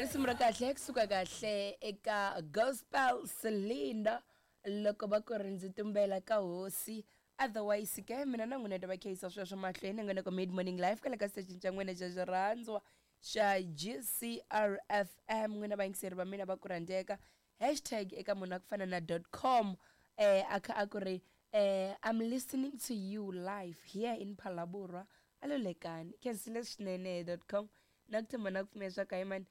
Risimu ra kahle kusuka kahle eka Gospel Cylinder loko va ku ri ndzi tumbela ka hosi. Otherwise ke mina na n'wina ta va khayisa sweswo mahlweni nga nako Mid Morning Life kwale ka station xa n'wina xa xirhandzwa xa GCRFM. N'wina vayingiseri va mina va ku rhandzeka, hashtag eka munhu a ku fana na dot com a kha a ku ri I'm listening to you live here in Phalaborwa a lo lekani khensile swinene dot com na ku tshemba na ku pfumela swa ka mani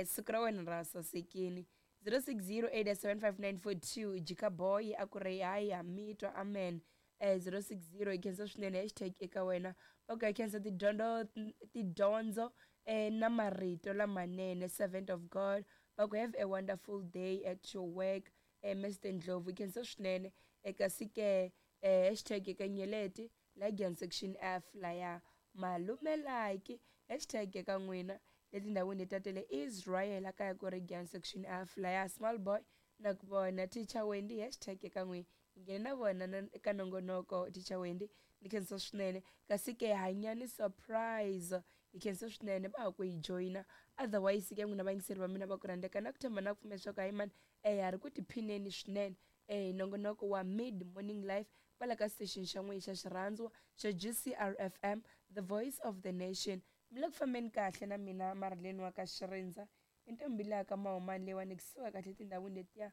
siku ra wena ra sasekini. 06087594 jika boy a ku ri hayi ha mi twa amen. 060 hi khensa swinene hashtag eka wena va ku hi khensa tidyondzo tidyondzo na marito lamanene servant of God. Va ku have a wonderful day at your work, Mr Ndlovu, hi khensa swinene. Kasi ke hashtag eka nyeleti la Giyani section F laya malume like hashtag eka n'wina le tindhawini leti ta le Israel a kaya ku ri Giyani section F laya small boy na ku vona teacher Wendy hashtag eka n'wina hi nghene na vona na eka nongonoko teacher Wendy ni khensa swinene. Kasi ke hanyani surprise hi khensa swinene va ha ku hi joyina. Otherwise ke n'wina vayingiseri va mina va ku rhandzeka na ku tshemba na ku pfumela leswaku hayi mani ha ri ku tiphineni swinene hi nongonoko wa Mid Morning Life kwala ka station xa n'wina xa xirhandzwa xa GCRFM, the voice of the nation. Mi le ku fambeni kahle na mina Marilyn wa ka Xirindza i ntombi leya ka Mahumani leyiwani kusuka kahle etindhawini letiya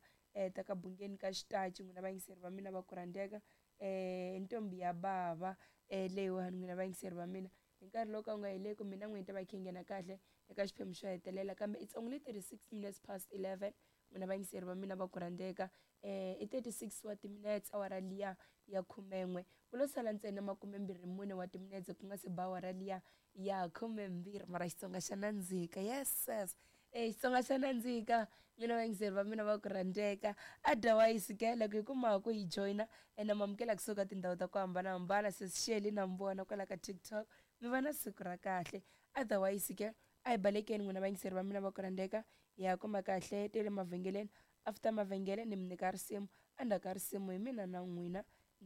ta ka Bungeni ka Xitachi. N'wina vayingiseri va mina va ku rhandzeka, i ntombi ya bava leyiwani n'wina vayingiseri va mina hi nkarhi lowu ka wu nga heleku mina n'wina hi ta va khe nghena kahle eka xiphemu xo hetelela kambe it's only 36 minutes past 11. N'wina vayingiseri va mina va ku rhandzeka, i 36 wa timinetse awara liya ya khumen'we ku lo sala ntsena 24 wa timinetse ku nga se ba awara liya ya 12. Mara Xitsonga xa nandzika, yes sis, Xitsonga xa nandzika n'wina vayingiseri va mina va ku rhandzeka. Otherwise ke loko hi kuma ku hi joyina ene mamukela kusuka tindhawu ta ku hambanahambana sis Shirley na mi vona kwala ka TikTok, mi va na siku ra kahle. Otherwise ke a hi balekeni n'wina vayingiseri va mina va ku rhandzeka, hi ya kuma kahle te le mavhengeleni. After mavhengele ni mi nyika risimu, endzhaku ka risimu hi mina na n'wina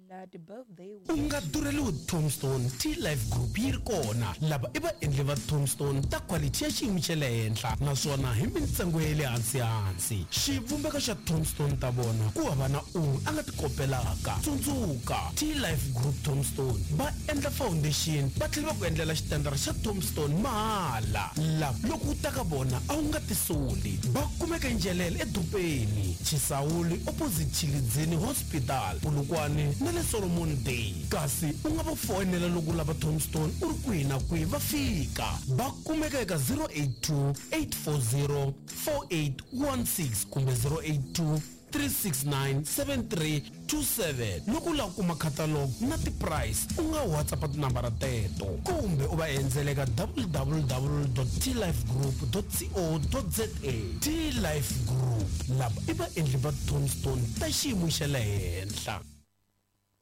na ti-birthday. U nga durheliwi Tombstone, T-Life Group yi ri kona. Lava i vaendli va Tombstone ta quality ya xiyimo xa le henhla naswona hi mintsengo ya le hansi-hansi. Xivumbeko xa Tombstone ta vona ku hava na un'we a nga ti kopelaka. Tsundzuka, T-Life Group Tombstone va endla foundation va tlhela va ku endlela xitandara xa Tombstone mahala. Lava loko u ta ka vona a wu nga tisoli. Va kumeka eNjelele edorobeni, Chisawuli opposite Tshilidzini Hospital, Polokwane na le Solomon Day. Kasi u nga va foyinela loko u lava Tombstone u ri kwihi na kwihi va fika. Va kumeka eka 082 840 4816 kumbe 082 369 7327. Loko u lava ku kuma catalog na ti-price u nga WhatsApp tinambara teto kumbe u va endzela eka www.tlifegroup.co.za. T-Life Group, lava i vaendli va Tombstone ta xiyimo xa le henhla.